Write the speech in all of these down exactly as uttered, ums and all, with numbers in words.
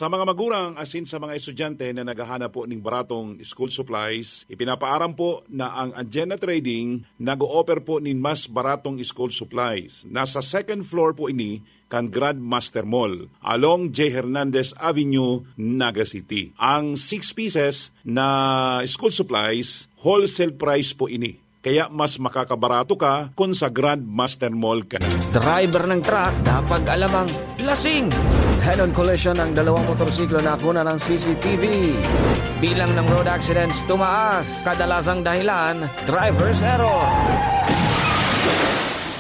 Sa mga magurang asin sa mga estudyante na naghahanap po ning baratong school supplies, ipinapaaram po na ang Anjena Trading nag-o-offer po nin mas baratong school supplies. Nasa second floor po ini kan Grandmaster Mall, along J Hernandez Avenue, Naga City. Ang six pieces na school supplies, wholesale price po ini. Kaya mas makakabarato ka kun sa Grandmaster Mall ka na. Driver ng truck, dapat alam ang lasing. Head-on collision ng dalawang motorsiklo na nakuna ng C C T V. Bilang ng road accidents tumaas, kadalasang dahilan, driver's error.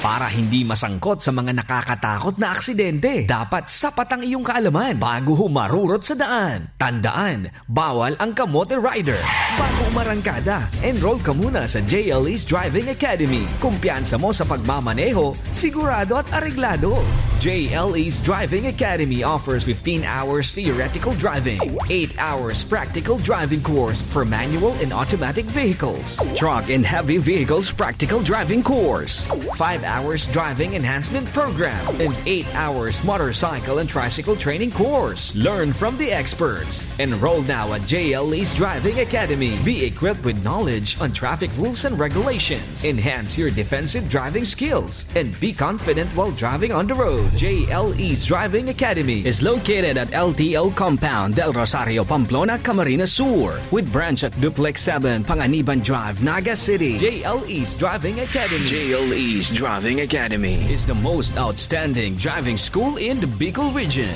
Para hindi masangkot sa mga nakakatakot na aksidente, dapat sapat ang iyong kaalaman bago humarurot sa daan. Tandaan, bawal ang kamote rider. Bago umarangkada, enroll ka muna sa J L E's Driving Academy. Kumpiyansa mo sa pagmamaneho, sigurado at areglado. J L E's Driving Academy offers fifteen hours theoretical driving, eight hours practical driving course for manual and automatic vehicles, truck and heavy vehicles practical driving course, five hours driving enhancement program, and eight hours motorcycle and tricycle training course. Learn from the experts. Enroll now at J L E's Driving Academy. Be equipped with knowledge on traffic rules and regulations. Enhance your defensive driving skills and be confident while driving on the road. J L E's Driving Academy is located at L T O Compound, Del Rosario, Pamplona, Camarines Sur, with branch at Duplex seven, Panganiban Drive, Naga City. J L E's Driving Academy. J L E's Driving Academy is the most outstanding driving school in the Bicol region.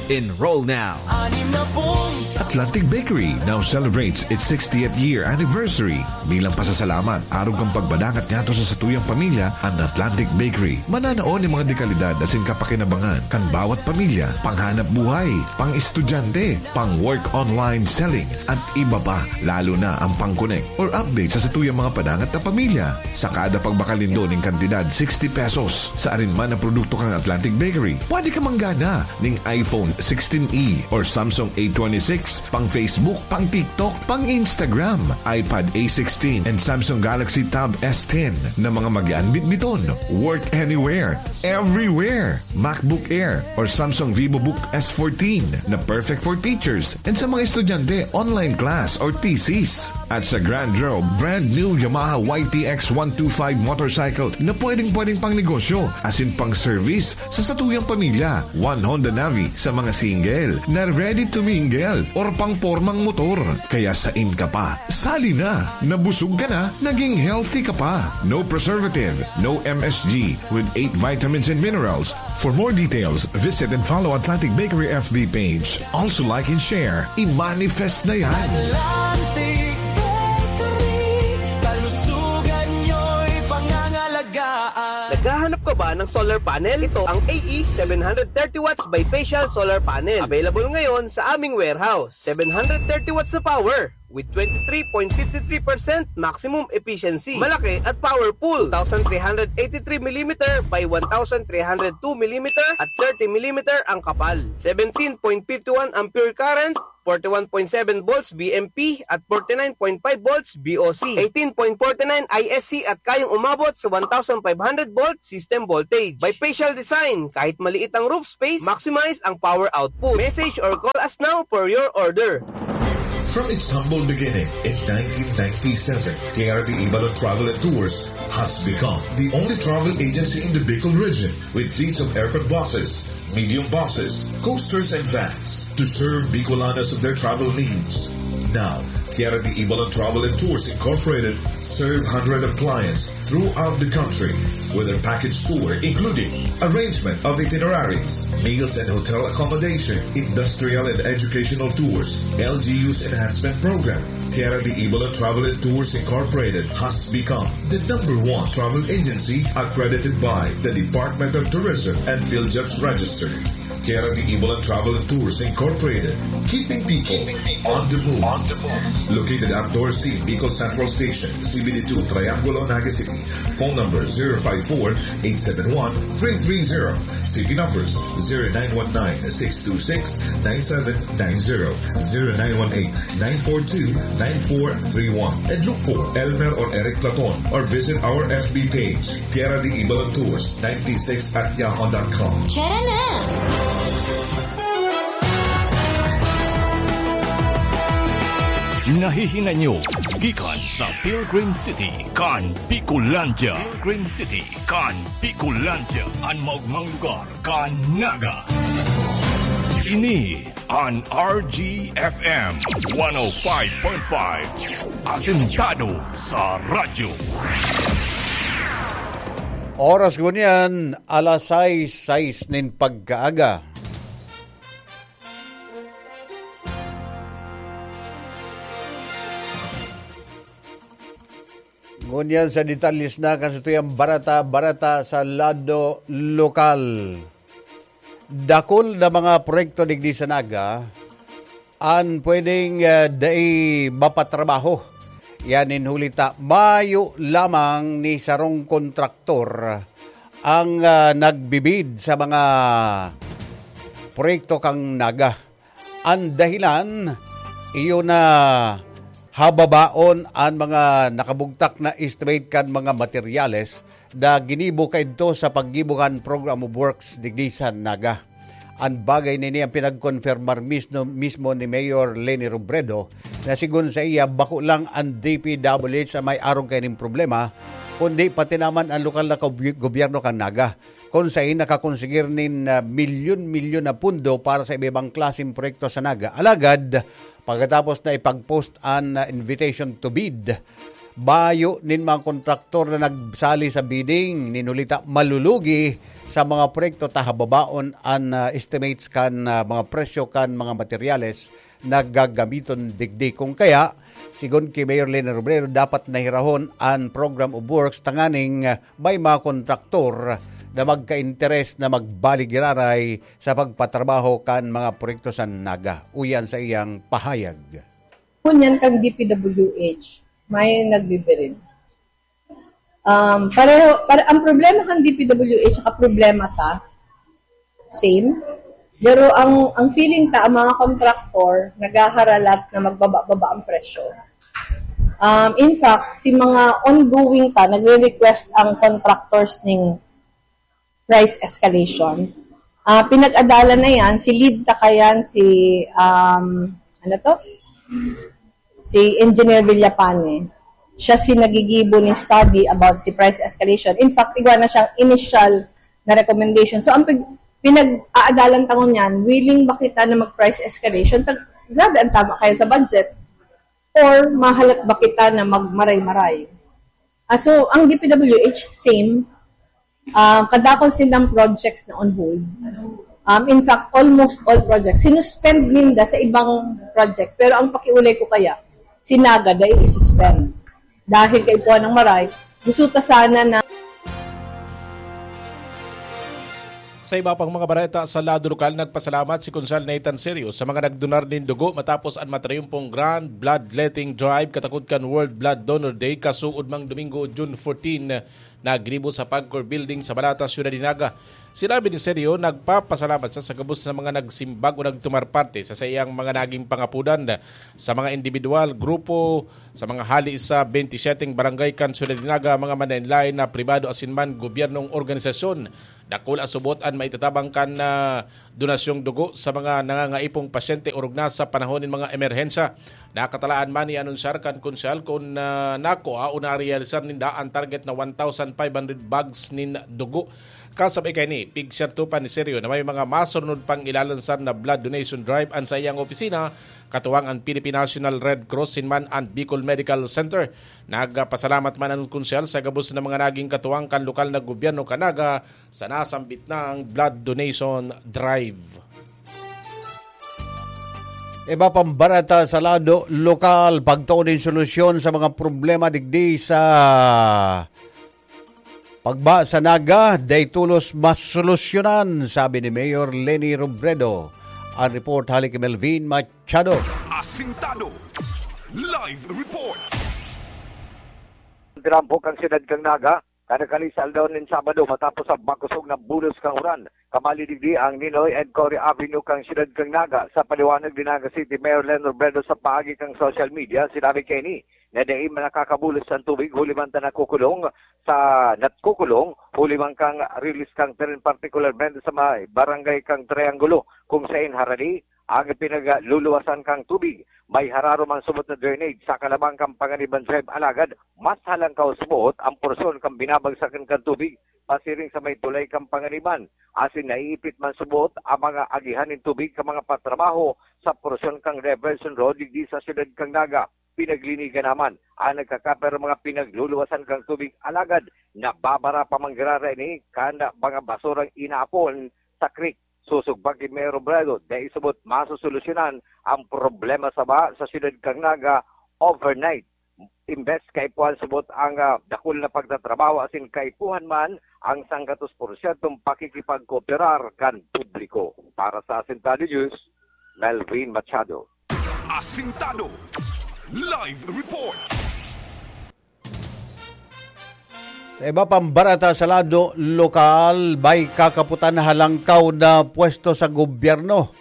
Enroll now. Anim na pong Atlantic Bakery now celebrates its sixtieth year anniversary. Bilang pasasalamat, arog kan pagbadangat ngadto sa satuyang pamilya, an Atlantic Bakery mananao nin mga dekalidad asin kapakinabangan kan bawat pamilya, panghanap buhay, pang-estudyante, pang-work online selling, at iba pa, lalo na ang pang-connect or update sa satuyang mga padangat na pamilya. Sa kada pagbakal nindo nin kantidad sixty pesos sa arin man na produkto kan Atlantic Bakery, pwede ka manggana ning iPhone sixteen E or Samsung A twenty-six, pang Facebook, pang TikTok, pang Instagram, iPad A sixteen, and Samsung Galaxy Tab S ten na mga magian bitbiton. Work anywhere, everywhere. MacBook Air or Samsung VivoBook S fourteen na perfect for teachers and sa mga estudyante, online class or thesis. At sa Grand Draw, brand new Yamaha Y T X one two five motorcycle na pwedeng-pwedeng pang negosyo asin pang service sa satuyang pamilya. One Honda Navi sa mga single na ready to mingle or pang pormang motor. Kaya sain ka pa, sali na! Nabusog ka na, naging healthy ka pa. No preservative, no M S G, with eight vitamins and minerals. For more details, visit and follow Atlantic Bakery F B page. Also like and share. I-manifest na yan! Atlantic Bakery, kalusugan nyo'y pangangalagaan. Naghahanap ka ba ng solar panel? Ito ang A E seven hundred thirty watts bifacial solar panel. Available ngayon sa aming warehouse. Seven hundred thirty watts na power with twenty-three point fifty-three percent maximum efficiency. Malaki at powerful. Two thousand three hundred eighty-three millimeter by one thousand three hundred two millimeter at thirty millimeter ang kapal. Seventeen point fifty-one ampere current, forty-one point seven volts V M P at forty-nine point five volts V O C, eighteen point forty-nine I S C at kayang umabot sa one thousand five hundred volt system voltage. Bifacial design, kahit maliit ang roof space, maximize ang power output. Message or call us now for your order. From its humble beginning in nineteen ninety-seven, Tierra de Ibalon Travel and Tours has become the only travel agency in the Bicol region with fleets of aircon buses, medium buses, coasters, and vans to serve Bicolanos of their travel needs. Now, Tierra de Ibalon Travel and Tours Incorporated serve hundreds of clients throughout the country with their package tour, including arrangement of itineraries, meals and hotel accommodation, industrial and educational tours, L G U's enhancement program, Tierra de Ibalon Travel and Tours Incorporated has become the number one travel agency accredited by the Department of Tourism and PhilJobs Register. Tierra de Ibalon Travel and Tours Incorporated, keeping people on the move. Located at Dorsey, Bicol Central Station, C B D two, Triangulo, Naga City. Phone number zero five four, eight seven one, three three zero. C P numbers zero nine one nine, six two six, nine seven nine zero, zero nine one eight, nine four two, nine four three one. And look for Elmer or Eric Platon or visit our F B page, Tierra de Ibalon Tours ninety-six at yahoo dot com. Tara na! Nahihinanyo gikan sa Pilgrim City kan Bicolandia. Pilgrim City kan Bicolandia, an maogmang lugar kan Naga. Ini an R G F M one oh five point five, asentado sa radyo. Oras ko niyan, alas sais, sais nin pagkaaga. Ngunyan sa detalyes na kan satuyang barata-barata sa lado lokal. Dakul na mga proyekto digdi sa Naga an pwedeng, ah, dai mapatrabaho. Yan in huli ta mayo lamang ni sarong kontraktor ang, ah, nagbibid sa mga proyekto kang Naga. An dahilan, iyo na hababaon an mga nakabugtak na estimate kan mga materyales na ginibo kaidto sa paggibo kan Program of Works digdi sa Naga. An bagay nini ang pinagkonfirmar mismo, mismo ni Mayor Leni Robredo na sigon sa iya, bako lang an D P W H ang may arog kaining problema, kundi pati naman ang lokal na goby-, gobyerno kan Naga, kun sain nakakonsigir nin, ah, milyon-milyon na pundo para sa iba-ibang klaseng proyekto sa Naga. Alagad, pagkatapos na ipag-post an, ah, invitation to bid, bayo nin mga kontraktor na nagsali sa bidding, nin huli ta malulugi sa mga proyekto ta hababaon an, ah, estimates kan, ah, mga presyo kan mga materyales na gagamiton digdi. Kung kaya, sigon ki Mayor Leni Robredo, dapat na hirahon an Program of Works tanganing may mga kontraktor na magka-interes na magbalik giraray sa pagpatrabaho kan mga proyekto sa Naga. Uyan sa iyang pahayag. Ngunyan kan D P W H, may nagbibirin. Um, pareho, pare-, ang problema kan D P W H saka problema ta, same. Pero ang, ang feeling ta, ang mga kontraktor, naghaharalat na magbaba-baba ang presyo. Um, in fact, si mga ongoing ta, nagre-request ang contractors ning price escalation. Ah, pinag-adalan na yan, si lead ta kayan, si, um, ano to? Si Engineer Villapane. Siya si nagigibo ning study about si price escalation. In fact, igwa na siyang initial na recommendation. So, ang pig-, pinag-aadalan ta ngunyan, willing ba kita na mag-price escalation? Tag-, grabe ang tama kaya sa budget. Or mahalat ba kita na magmaray-maray? Ah, so, ang D P W H, same. Ah, kadakol sindang projects na on hold. Um, in fact, almost all projects. Sinuspend ninda sa ibang projects. Pero ang pakiulay ko kaya, si Naga, dai isuspend. Dahil kaipuhan ng maray, gusto ta sana na Sa iba pang mga bareta sa lado lokal, nagpasalamat si Konsehal Nathan Serio sa mga nagdonar nin dugo matapos an matrayumpong Grand Bloodletting Drive katakod kan World Blood Donor Day kasuodmang Domingo, June fourteen, na ginibo sa Pagcor Building sa Balata, Syudad de Naga. Sinabi ni Serio, nagpapasalamat siya sa gabos na mga nagsimbag o nagtumar parte sa saiyang mga naging pangapodan sa mga individual, grupo, sa mga hali sa twenty-seven barangay kan Syudad de Naga, mga manlaen-laen na pribado asin man gobyernong organisasyon. Dakul a subot an maitatabang kan, ah, donasyong dugo sa mga nangangaipong pasyente orog na sa panahon nin mga emerhensya. Nakatalaan man ni anunsyar kan Konsehal kun, ah, nakua o narealisar ninda an target na one thousand five hundred bags nin dugo. Kasabay kaini, pigserto pa ni Serio na may mga masunod pang ilalansar na blood donation drive an saiyang opisina, katuwang an Philippine National Red Cross, sin man an Bicol Medical Center. Nagpasalamat man an Konsehal sa gabos na mga naging katuwang kan lokal na gobyerno kan Naga sa nasambit nang blood donation drive. Iba pang bareta sa lado lokal, pagtao nin solusyon sa mga problema digdi sa pagba sa Naga, dai tolos masolusyonan, sabi ni Mayor Leni Robredo. Ang report hali ki Melvin Machado. Asintado. Live report. Tinampok ang siyudad kan Naga, kada kali sa aldaw nin Sabado matapos sa makusog na bulos kan uran. Kamali digdi ang Ninoy and Cory Avenue kan siyudad kan Naga. Sa paliwanag ni Naga City Mayor Leni Robredo sa paagi kan social media, sinabi kaini na dai man nakakabulos an tubig huli man ta nakukulong sa, nakukulong huli man kan release kan tren, partikularmente sa may barangay kan Triangulo, kung sain harani ang pinagluluwasan kan tubig. May hararo man subot na drainage sa kalabang kan Panganiban Drive, alagad mas halangkaw subot ang porsyon kan binabagsakan kan tubig pasiring sa may tulay kan Panganiban, asin naiipit man subot ang mga agihan nin tubig kan mga patrabaho sa porsyon kan Reversion Road digdi sa siyudad kan Naga. Pinaglinigan naman ang nagkakapirang mga pinagluluwasan kan tubig, alagad nababara pa man giraray ini kan mga basurang inaapon sa creek. Susugbag ki Mayor Robredo, dai subot masosolusyonan ang problema sa baha sa siyudad kan Naga overnight. Imbes kaipuhan subot ang, ah, dakul na pagtatrabaho asin kaipuhan man ang sanggatos porsyentong pakikipagkooperar kan publiko. Para sa Asintado News, Melvin Machado. Asintado Live Report. Sa iba pang bareta sa lado lokal, may kakaputan na halangkaw na pwesto sa gobyerno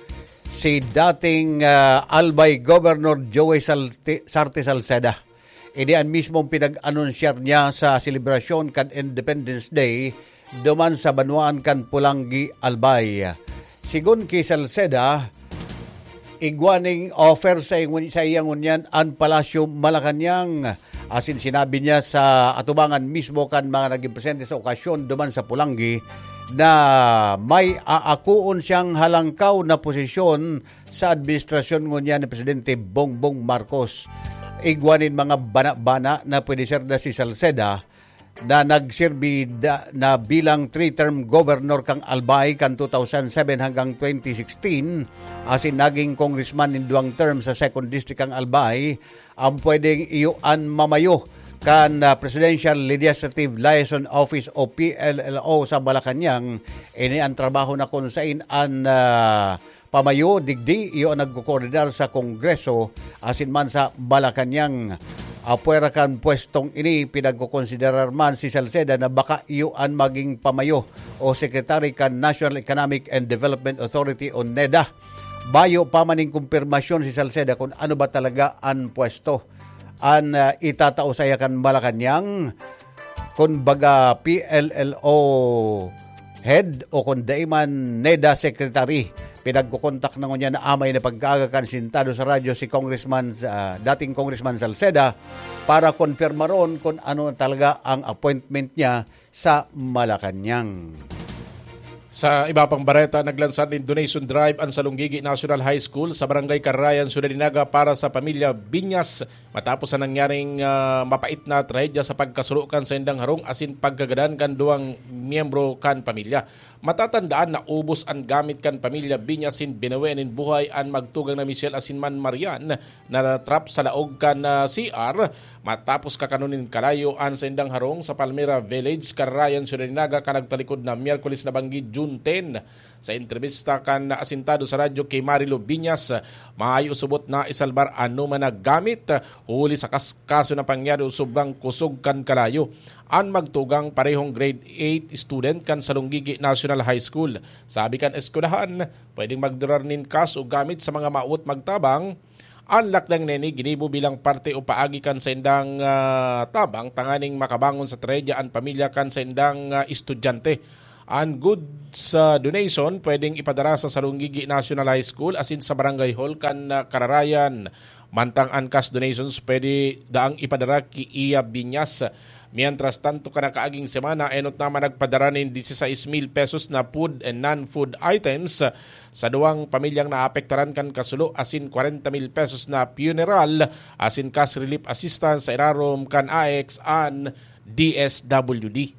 si dating, ah, Albay Governor Joey Salte-, Sarte Salceda. Ini an mismong pinag-anunsyar niya sa selebrasyon kan Independence Day duman sa banwaan kan Polangui, Albay. Sigon ki Salceda, igwa ning offer sa ingun-, sa iya ngunyan an Palasyo Malacañang. Asin sinabi niya sa atubangan mismo kan mga naging presente sa okasyon duman sa Polangui na may aakoon siyang halangkaw na posisyon sa administrasyon ngunyan ni Presidente Bongbong Marcos. Igwa nin mga bana-bana na pwede ser na si Salceda na nagsirbi da, na bilang three-term governor kan Albay kan two thousand seven hanggang twenty sixteen, asin naging congressman nin duwang term sa Second District kan Albay, ang pwedeng iyo an mamayo kan, ah, Presidential Legislative Liaison Office o P L L O sa Malacañang. Ini ang trabaho na kun sain an, ah, pamayo digdi iyo ang nagkokoordinar sa Kongreso asin man sa Malacañang. Apwera kan pwestong ini, pinagkokonsiderar man si Salceda na baka iyo an maging pamayo o sekretary kan National Economic and Development Authority o NEDA. Bayo pa man nin kumpirmasyon si Salceda kun ano ba talaga an pwesto an, ah, itatao saiya kan Malacañang, kun baga P L L O head o kun dai man NEDA secretary. Pinagkokontak na ngunyan na amay na pagkaaga kan sentado sa radyo si Congressman, ah, dating Congressman Salceda para konpirmaron kun ano talaga ang appointment niya sa Malacañang. Sa iba pang bareta, naglansar nin donation drive an Salonggigi National High School sa Barangay Carayan, Ciudad de Naga para sa pamilya Biñas matapos sa nangyaring, ah, mapait na trahedya sa pagkasulo kan saindang harong asin pagkagadan kan duwang miyembro kan pamilya. Matatandaan na ubos an gamit kan pamilya Biñas sin binawi nin buhay an magtugang na Michelle asin man Marian na natrap sa laog kan, ah, C R matapos kakanon nin kalayo an saindang harong sa Palmera Village, Carayan, Ciudad de Naga, kan nagtalikod na Miyerkules na banggi, June ten. Sa entrebista kan asintado sa radyo ki Marilo Biñas, maayo subot na isalbar anoman na gamit, huli sa kas-, kaso na pangyari o sobrang kusog kan kalayo. An magtugang parehong grade eight student kan Salonggigi National High School. Sabi kan eskwelahan, pwedeng magdurar nin kaso gamit sa mga maawot magtabang, an lakdang neni ginibo bilang parte o paagi kan saindang, ah, tabang tanganing makabangon sa trahedya an pamilya kan saindang, ah, estudyante. An goods, ah, donation pwedeng ipadara sa Salonggigi National High School asin sa Barangay Hall kan, ah, Kararayan. Mantang an cash donations pwede daang ipadara ki Iya Binyas. Mientras tanto, kan nakaaging semana, enot naman nagpadara nin dieciséis mil pesos na food and non-food items sa duwang pamilyang naapektaran kan kasulo asin kwarenta mil pesos na funeral asin cash relief assistance sa irarom kan A X an D S W D.